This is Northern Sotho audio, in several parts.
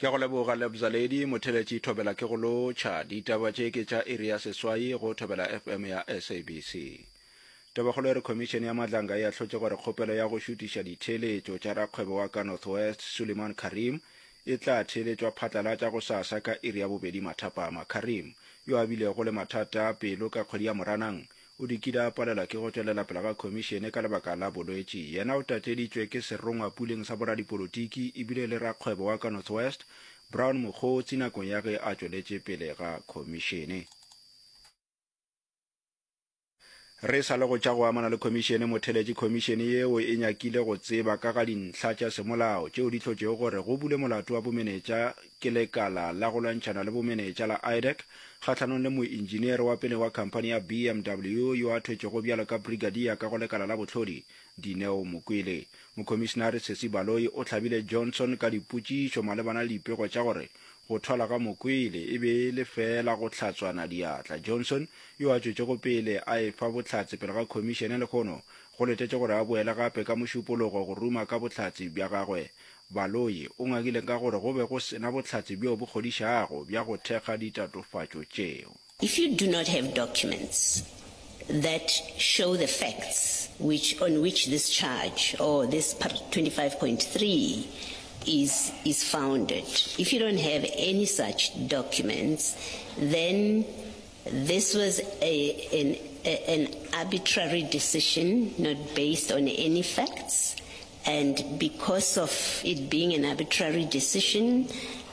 Ke a go leboga Lebza Lady, motheletši Thobela ke go lotšha. Ditaba tše ke tša iri ya seswai go Thobela FM ya SABC. Tabakgolo e re Khomišene ya Madlanga e ahlotše gore kgopelo ya go šutiša ditheeletšo tša rakgwebo wa ka North West Suleiman Carrim e tla theeletšwa phatlalatša gosasa ka iri ya bobedi mathapama. Carrim, yo a bilego le mathata a pelo ka kgwedi ya Moranang, O dikile a palelwa ke go tšwelela pele ga khomišene ka lebaka la bolwetši. Yena o tateditšwe ke serongwa puleng sa boradipolotiki ebile e le rakgwebo wa ka North West, Brown Mogotsi nakong ya ge a tšweletše pele ga khomišene. Re sa le go tša go amana le khomišene, motheletši khomišene yeo e nyakile go tseba ka ga dintlha tša semolao tšeo di hlotšego gore go bulwe molato wa bomenetša ke lekala la go lwantšhana le bomenetša la IDAC kgahlanong le moentšineere wa pele wa khamphani ya BMW yo a thwetšego bjalo ka brigadier ka go lekala la bohlodi, Dineo Mokwele. Mokhomišinare Sesi Baloyi o hlabile Johnson ka dipotšišo malebana le dipego tša gore go thwala ga Mokwele e be e le feela go hlatswana diatla. Johnson, yo a tšwetšego pele a efa bohlatse pele ga khomišene lehono, go letetše gore a boele gape ka Mošupologo go ruma ka bohlatse bja gagwe. Baloyi o ngakile ka gore go be go se na bohlatse bjo bo kgodišago bja go thekga ditatofatšo tšeo. If you do not have documents that show the facts which on which this charge or this par 25.3 is is founded, if you don't have any such documents, then this was a an a, an arbitrary decision not based on any facts And because of it being an arbitrary decision,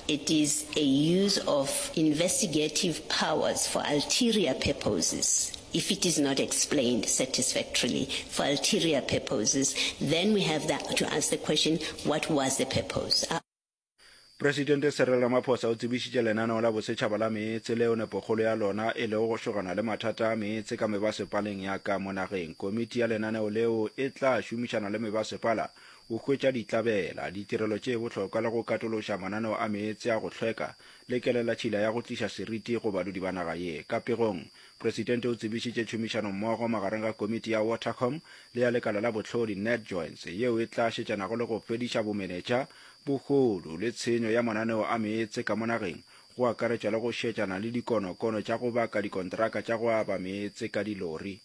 it is a use of investigative powers for ulterior purposes. If it is not explained satisfactorily for ulterior purposes, then we have that to ask the question, what was the purpose? Presidente Cyril Ramaphosa o tsebišitše lenaneo la bosetšhaba la meetse leo nepokgolo ya lona e lego go šogana le mathata a meetse ka mebasepaleng ya ka mo nageng. Komiti ya lenaneo leo e tla šomišana le mebasepala go hwetša ditlabela, ditirelo tše bohlokwa le go katološa mananeo a meetse a go hlweka le kelelatšhila ya go tliša seriti go badudi ba naga ye. Ka pegong, Presidente o tsebišitše tšhomišanommogo magareng ga komiti ya Watercom le ya lekala la bohlodi NatJoints yeo e tla šetšanago le go fediša bomenetša, bohodu le tshenyo ya mananeo a meetse ka mo nageng, go akaretšwa le go šetšana le dikonokono tša go baka dikontraka tša go aba meetse ka dilori.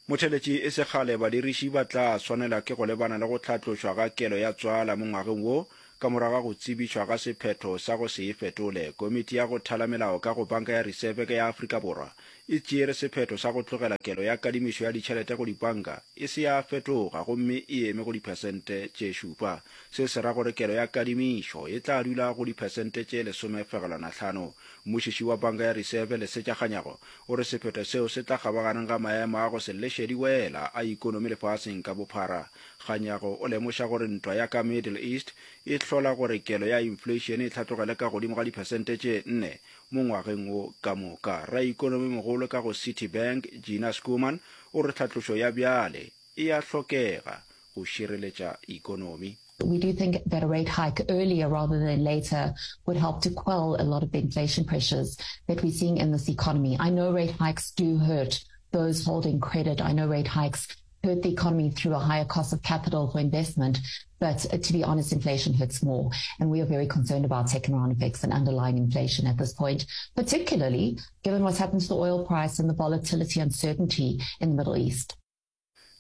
Motheletši e se kgale badiriši ba tla swanela ke go lebana le go hlatlošwa ga kelo ya tswala mo ngwageng wo ka morago ga go tsebišwa ga sephetho sa go se e fetole. Komiti ya go thala melao ka go Banka ya Risefeke ya Afrika Borwa e tšeere sephetho sa go tlogela kelo ya kadimišo ya ditšhelete go dipanka e se ya fetoga gomme e eme go diphesente tše šupa. Se se ra gore kelo ya kadimišo e tla dula go diphesente tše lesomefegelwanahlano. Mmušiši wa Banka ya Riseve, Lesetša Kganyago, o re sephetho seo se tla kgabaganeng ga maemo a go se leše diwela a ikonomi lefaseng ka bophara. Kganyago o lemoša gore ntwa ya ka Middle East e hlola gore kelo ya infleišene e hlatlogele ka godimo ga diphesente tše nne mo ngwageng wo ka moka. Raikonomimogolo ka go Citi Bank, Gina Schoeman, o re tlhatlošo ya bjale e a hlokega go šireletša ikonomi. We do think that a rate hike earlier rather than later would help to quell a lot of the inflation pressures that we're seeing in this economy. I know rate hikes do hurt those holding credit. I know rate hikes hurt the economy through a higher cost of capital for investment. But uh, to be honest, inflation hurts more. And we are very concerned about second round effects and underlying inflation at this point, particularly given what's happened to the oil price and the volatility uncertainty in the Middle East.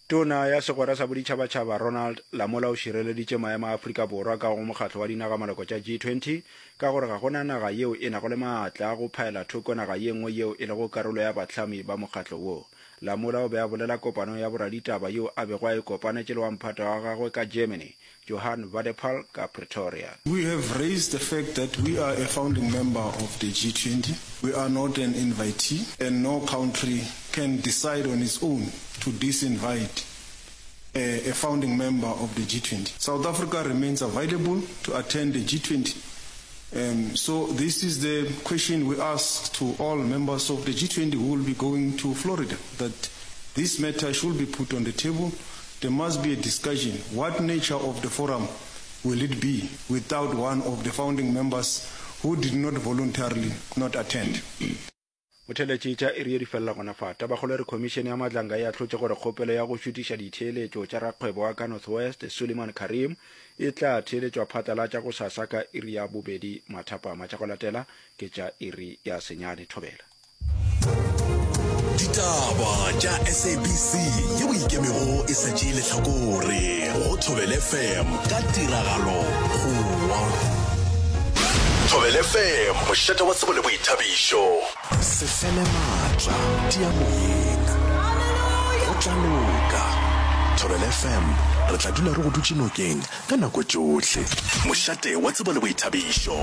Tona ya Segwera sa Boditšhabatšhaba Ronald Lamola o šireleditše maemo a Afrika Borwa ka go mokgatlo wa dinagamaloko tša G20 ka gore ga go na naga yeo e nago le maatla a go phaela thoko naga ye nngwe yeo e lego karolo ya bahlami ba mokgatlo wo. Lamola o be a bolela kopanong ya boraditaba yeo a bego a e kopanetše le wa mphata wa gagwe ka Germany, Johann Wadephal ka Pretoria. We have raised the fact that we are a founding member of the G20. We are not an invitee and no country can decide on its own to disinvite a, a founding member of the G20. South Africa remains available to attend the G20. Um, so this is the question we ask to all members of the G20 who will be going to Florida, that this matter should be put on the table. There must be a discussion. What nature of the forum will it be without one of the founding members who did not voluntarily not attend? Motheeletši tša iri ye di felela gona fa. Tabakgolo e re Khomišene ya Madlanga e ahlotše gore kgopelo ya go šutiša ditheeletšo tša rakgwebo wa ka North West, Suleiman Carrim, e tla theeletšwa phatlalatša gosasa ka iri ya bobedi mathapama. Tša go latela ke tša iri ya senyane. Thobela. Ditaba tša SABC yeo e ikemego e sa tšee lehlakore go Thobela FM ka tiragalo Goa. Thobela FM, mošate wa tsebo le boithabišo. Se fele maatla, tia moyeng. Go tla loka. Thobela FM, re tla dula re go dutše nokeng ka nako tšohle. Mošate wa tsebo le boithabišo.